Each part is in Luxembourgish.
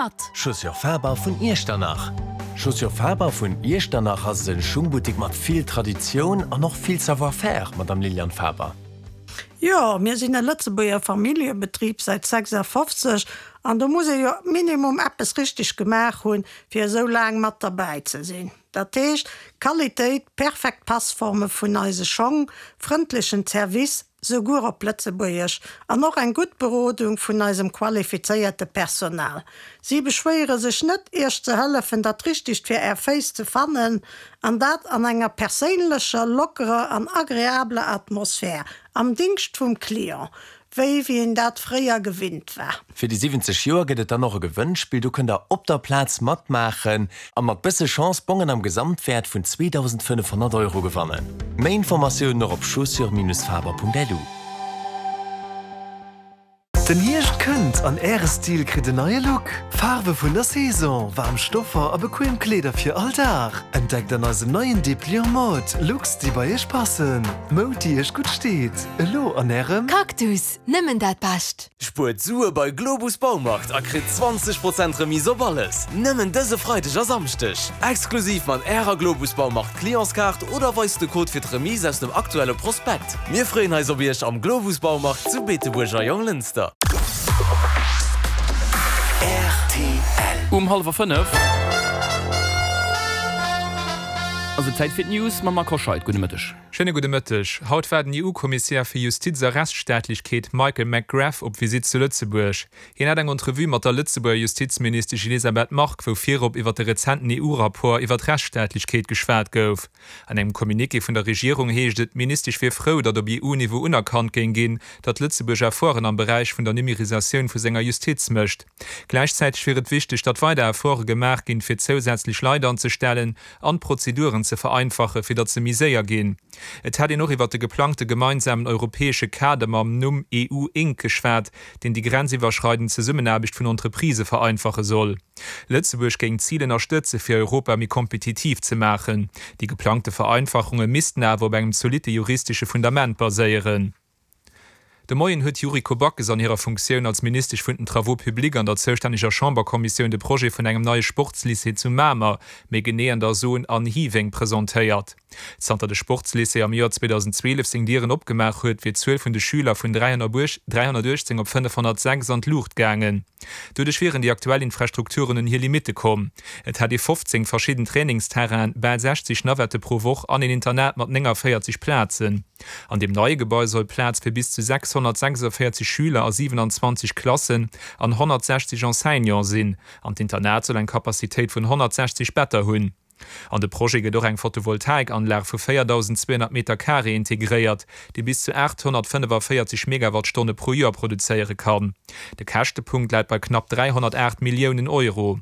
Mat. Chaussures Faber vun Iechternach. Chaussures Faber vun Iechternach ass e Schungbuttek mat vill Traditioun an och vill Savoir-faire, Madame Liliane Faber. Jo, mir sinn e Lëtzebuerger Familljebetrib säit 56 an do muss ee jo minimum eppes richteg gemaach hunn, fir esou laang mat derbäi ze sinn. Dat heescht, Qualitéit, perfekt Passforme vun eise Schong, frëndlechen Service, souguer op Lëtzebuergesch, an och eng gutt Berodung vun eisem qualifizéierte Personal. Si beschwéiere sech net, Iech ze hëllefen, dat Richtegt fir Är Féiss ze fannen, an dat an enger perséinlecher, lockerer an agreabler Atmosphär, am Dingscht vum Client, wéi wéi een dat fréier gewinnt war. Fir déi 70 Joer gëtt et dann och e Gewënnspill, do kënnt der op der Plaz matmaachen a mat bësse Chance Bongen am Gesamtwäert vun 2.500 Euro gewannen. Méi Informatiounen och op chaussures-faber.lu. Den Hierscht kënnt an Äre Stil kritt en neie Look! Faarwe vun der Saison, waarm Stoffer a bequem Kleeder fir all Dag. Entdeckt an eisem neien Dépliant Mode Looks, déi bei Iech passen. Moud, déi Iech gutt steet. Elo an Ärem. Cactus, nëmmen dat Bescht! Spuert Sue bei Globus Baumarkt a kritt 20 Prozent Remise op alles! Nëmmen dëse Freideg a Samschdeg! Exklusiv mat Ärer Globus Baumarkt Clientskaart oder weist de Code fir d'Remise aus dem aktuelle Prospekt. Mir freeën eis op Iech am Globus Baumarkt zu Beetebuerg a Jonglënster. Rtl. Um hallwer 5 ass et Zäit fir d'News mam Marc Hoscheid. Gudde Mëtteg. Schéine gudde Mëtteg. Haut war den EU-Kommissär fir Justiz a Rechtsstaatlechkeet Michael McGrath op Visitt zu Lëtzebuerg. Hien hat eng Entrevue mat der Lëtzebuerger Justizministesch Elisabeth Margue, wou virop iwwer de rezenten EU-Rapport iwwer d'Rechtsstaatlechkeet geschwat gouf. An engem Communiqué vun der Regierung heescht et, d'Ministesch wier frou, datt op EU-Niveau unerkannt géing ginn, datt Lëtzebuerg Efforten am Beräich vun der Numerisatioun vu senger Justiz mécht. Gläichzäiteg wier et wichteg, datt weider Efforte gemaach ginn, fir zousätzlech Leit anzestellen an d'Prozeduren ze vereinfachen, fir datt se méi séier ginn. Et hätt een och iwwer de geplangte gemeinsamen europäesche Kader mam Numm EU Inc. Geschwat, deen déi grenziwwerschreidend Zesummenaarbecht vun Entreprisë vereinfache soll. Lëtzebuerg géing d'Zil ënnerstëtze fir Europa méi kompetitiv ze maachen. Déi geplangte Vereinfachunge missten awer op engem zolitte juristesche Fundament baséieren. De Moien huet d'Yuriko Backes an hirer Funktioun als Ministesch vun den Travaux publics an der zoustänneger Chamberkommissioun de Projet vun engem neie Sportslycée zu Mamer, méi genee an der Zone An Hiweng, presentéiert. Zanter de Sportslycée am Joer 2012 seng Dieren opgemaach huet, wier d'Zuel vun de Schüler vun 318 op 506 an d'Luucht gaangen. Doduerch wieren déi aktuell Infrastrukturen un hir Limitte komm. Et hätt ee 15 verschidden Trainingsterrainen, bal 60 Navette pro Woch an een Internat mat 49 Plazen. An deem neie Gebai soll Plaz fir bis zu 646 Schüler a 27 Klassen an 160 Enseignante sinn an d'Internat soll eng Capacitéit vun 160 Better hunn. An de Projet gëtt och eng Photovoltaikanlag vu 4.200 Meter Carré integréiert, déi bis zu 845 Megawattstonne pro Joer produzéiere kann. De Käschtepunkt läit bei knapp 308 Milliounen Euro.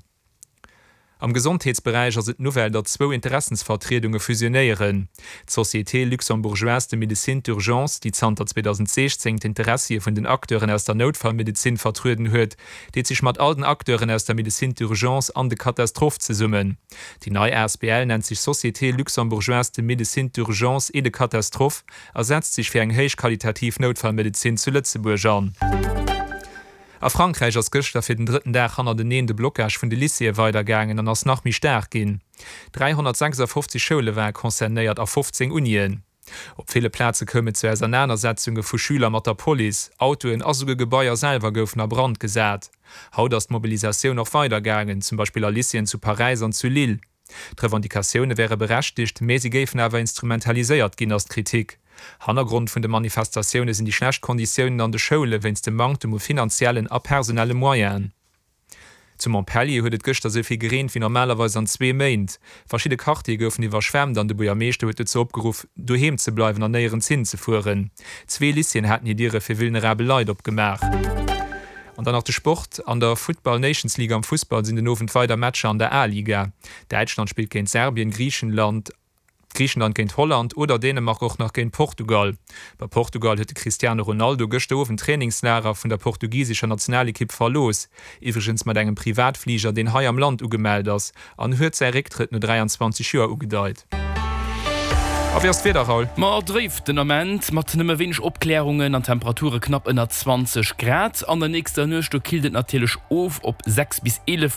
Am Gesondheetsberäich ass et d'Nouvelle, datt zwou Interessensvertriedunge fusionéieren. D'Société luxembourgeoise de médecine d'urgence, déi zanter 2016 d'Interessie vun den Acteuren aus der Noutfallmedezin vertrueden huet, deet sech mat all den Acteuren aus der Médecine d'urgence an de Catastrophe zesummen. Déi nei asbl nennt sech Société luxembourgeoise de médecine d'urgence et de catastrophe a setzt sech fir eng héichqualitativ Noutfallmedezin zu Lëtzebuerg an. A Frankräich ass gëschter fir den drëtten Dag hannerteneen de Blocage vun de Lycéeë weidergaangen an ass nach méi staark ginn. 356 Schoule ware concernéiert a 15 Unien. Op ville Plaze koum et zu Ausernanersetzunge vu Schüler mat der Police, Autoen a souguer Gebaier selwer goufen a Brand gesat. Haut ass d'Mobilisatioun och weidergaangen, zum Beispill a Lycéeën zu Paräis an zu Lille. D'Revendicatioune wäre berechtegt, mä si géifen awer instrumentaliséiert ginn, ass d'Kritik. Hannergrond vun de Manifestatioune sinn déi schlecht Konditiounen an de Schoule wéinst dem Manktem u finanziellen a personelle Moyenen. Zu Montpellier huet et gëschter esou vill gereent wéi normalerweis an zwee Méint. Verschidde Quartiere goufen iwwerschwemmt an de Buergermeeschter huet dozou opgeruff, doheem ze bleiwen an néierens hin ze fueren. Zwee Lycéeën haten hir Diere fir vulnerabel Leit opgemaach. An dann nach de Sport, An der Futtball Nations League am Fussball sinn den Owend weider Matcher an der A-Liga. Däitschland spillt géint Serbien, Griichenland Griichenland géint Holland oder Dänemark och nach géint Portugal. Bei Portugal huet de Cristiano Ronaldo gëschter Owend d'Trainingslager vun der portugisescher Nationalekipp verlooss, iwwregens mat engem Privatfliger, deen hei am Land ugemellt ass, an huet säi Récktrëtt no 23 Joer ugedeit. A wéi ass d'Wieder, Raoul? Ma dréif den Ament, mat nëmme wéineg Opklärungen an Temperature knapp ënner 20 Grad. An der nächster Nuecht, do killt et natierlech of op 6 bis 11.